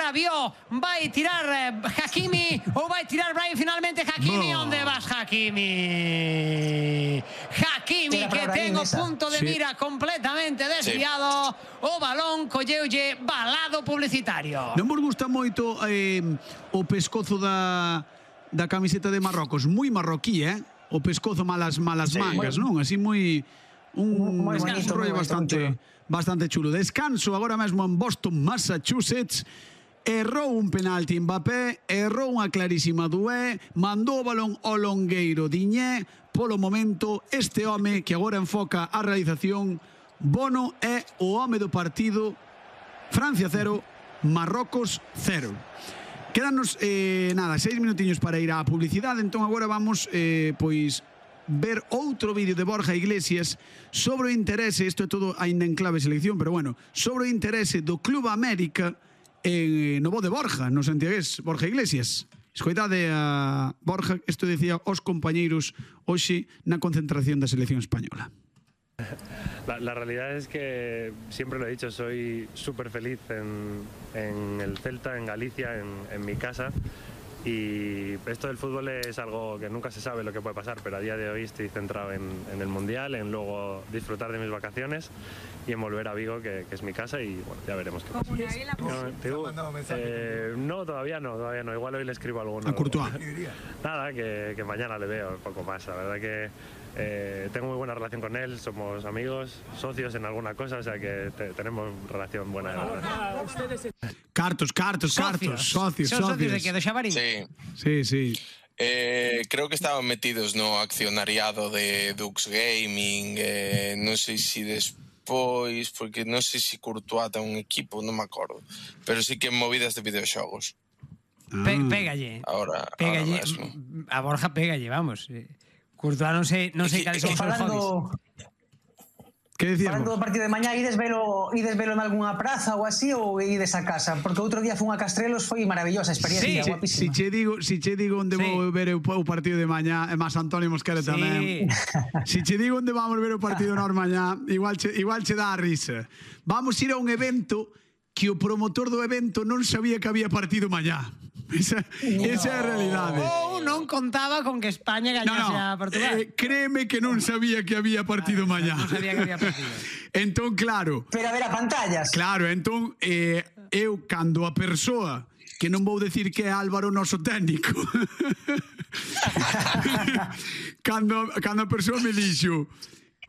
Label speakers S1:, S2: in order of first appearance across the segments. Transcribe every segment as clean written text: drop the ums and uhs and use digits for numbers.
S1: agora vio, vai tirar Hakimi ou vai tirar Brahim finalmente Hakimi. Onde vas, Hakimi? Hakimi que ten o punto de mira completamente desviado. O balón colleulle balado publicitario.
S2: Non vos gusta moito o pescozo da camiseta de Marrocos? Moi marroquí, o pescozo malas mangas, non? Así moi... un rollo bastante chulo. Descanso agora mesmo en Boston, Massachusetts. Errou un penalti Mbappé, errou unha clarísima Doué, mandou o balón ao longueiro Diñé. Polo momento, este home que agora enfoca a realización, Bono, é o home do partido. Francia 0, Marrocos 0. Quédanos, 6 minutiños para ir á publicidade. Entón agora vamos, pois, ver outro vídeo de Borja Iglesias sobre o interese, isto é todo ainda en clave selección, pero bueno, sobre o interese do Club América no bo de Borja, no santiagués, Borja Iglesias. Escoitade a Borja, isto decía os compañeiros hoxe na concentración da selección española.
S3: La realidad es que siempre lo he dicho, soy súper feliz en el Celta, en Galicia, en mi casa. Y esto del fútbol es algo que nunca se sabe lo que puede pasar, pero a día de hoy estoy centrado en el Mundial, en luego disfrutar de mis vacaciones y en volver a Vigo, que es mi casa, y bueno, ya veremos qué pasa. No, todavía no. Igual hoy le escribo alguno.
S2: A Courtois.
S3: Nada, que mañana le veo un poco más. La verdad que tengo muy buena relación con él, somos amigos, socios en alguna cosa, o sea que tenemos relación buena.
S2: Cartos. Socios
S1: de que, de Xabarín?
S2: Sí.
S4: Creo que estaban metidos no accionariado de Dux Gaming, non sei se despois, porque non sei se Courtois ten un equipo, non me acordo, pero sí que en movidas de videoxogos.
S1: Pégalle.
S4: Ahora mesmo.
S1: A Borja pégalle, vamos. Courtois non sei cales son os seus hobbies.
S2: Que decías?
S5: Falando do partido de mañá, ides velo en algunha praza ou así, ou ides a casa? Porque outro día fun a Castrelos, foi maravillosa experiencia, guapísima.
S2: Si che digo onde vou ver o partido de mañá, e máis Antonio Mosquera tamén. Si che digo onde vamos ver o partido nós mañá, igual che dá a risa. Vamos ir a un evento que o promotor do evento non sabía que había partido mañá. Esa é a realidade.
S1: Ou non contaba con que España gañase a Portugal.
S2: Créeme que non sabía que había partido mañá.
S1: Non sabía que había partido.
S2: Entón, claro.
S5: Pero a ver a pantallas.
S2: Claro, entón, eu, cando a persoa, que non vou decir que é Álvaro noso técnico, cando a persoa me dixo,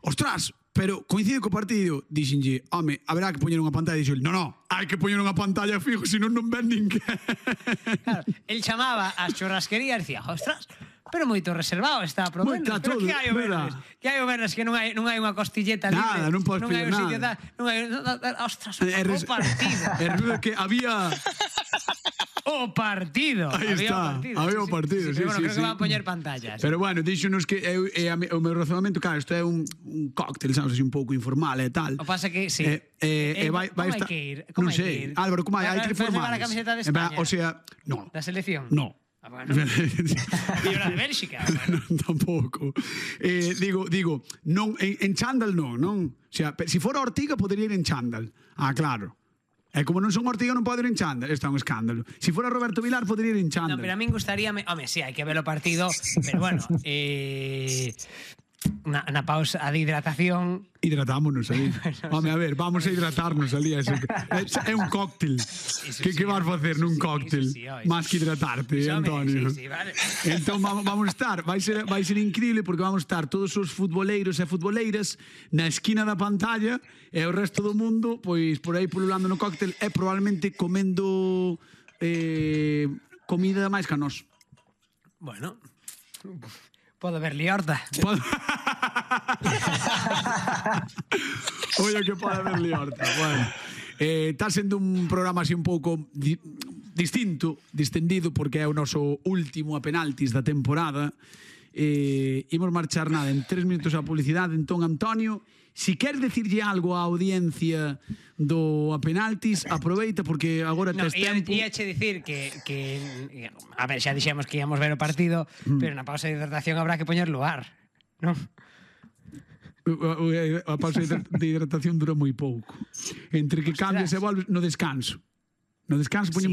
S2: ostras, pero coincide co partido, dixenlle, home, haberá que poñer unha pantalla, e dixo, non, hai que poñer unha pantalla fijo, senón non ven ninguén.
S1: Claro, el chamaba ás churrasquerías e dicía, ostras, pero moito reservado está pro menos. Pero que hai o vernes? Que hai o vernes que non hai unha costilleta libre?
S2: Nada, non podes pedir nada.
S1: Ostras, o partido.
S2: É que había...
S1: O partido.
S2: Aí está, había o partido, sí.
S1: Pero bueno, creo que van a poñer pantallas.
S2: Pero bueno, díxonos que o meu razonamento, claro, isto é un cóctel, sabes, así un pouco informal e tal.
S1: O pasa que, sí.
S2: Como hai que ir? Non sei, Álvaro, como hai que formar?
S1: Vai levar a camiseta de España?
S2: O sea, no.
S1: Da selección?
S2: No.
S1: Bueno. E a de Bélxica?
S2: Bueno. Tampouco. Digo, non, en chándal non. O sea, se fora Ortiga, podería ir en chándal. Ah, claro. E como non son Ortiga non pode ir en chándal. Isto é un escándalo. Se fora Roberto Vilar podería ir en chándal.
S1: No, pero a min gustaríame... Home, sí, hai que ver o partido. Pero bueno, na pausa de hidratación...
S2: Hidratámonos aí. Home, a ver, vamos a hidratarnos ali. É un cóctel. Que vas facer nun cóctel? Más que hidratarte, Antonio.
S1: Sí, vale.
S2: Entón vamos a estar, vai ser increíble porque vamos a estar todos os futboleiros e futboleiras na esquina da pantalla e o resto do mundo pois por aí pululando no cóctel e probablemente comendo comida máis que a nós.
S1: Bueno, pode haber liorta.
S2: Oye, que pode haber liorta. Bueno, está sendo un programa así un pouco distinto, distendido, porque é o noso último a penaltis da temporada. Imos marchar nada, en 3 minutos a publicidade. Entón, Antonio, si queres decirlle algo á audiencia do a penaltis, aproveita porque agora tes tempo.
S1: Iache dicir que a ver, xa dixemos que íamos ver o partido, pero na pausa de hidratación habrá que poñer lugar, non?
S2: A pausa de hidratación dura moi pouco. Entre que cambias e volves no descanso. No descanso poñemos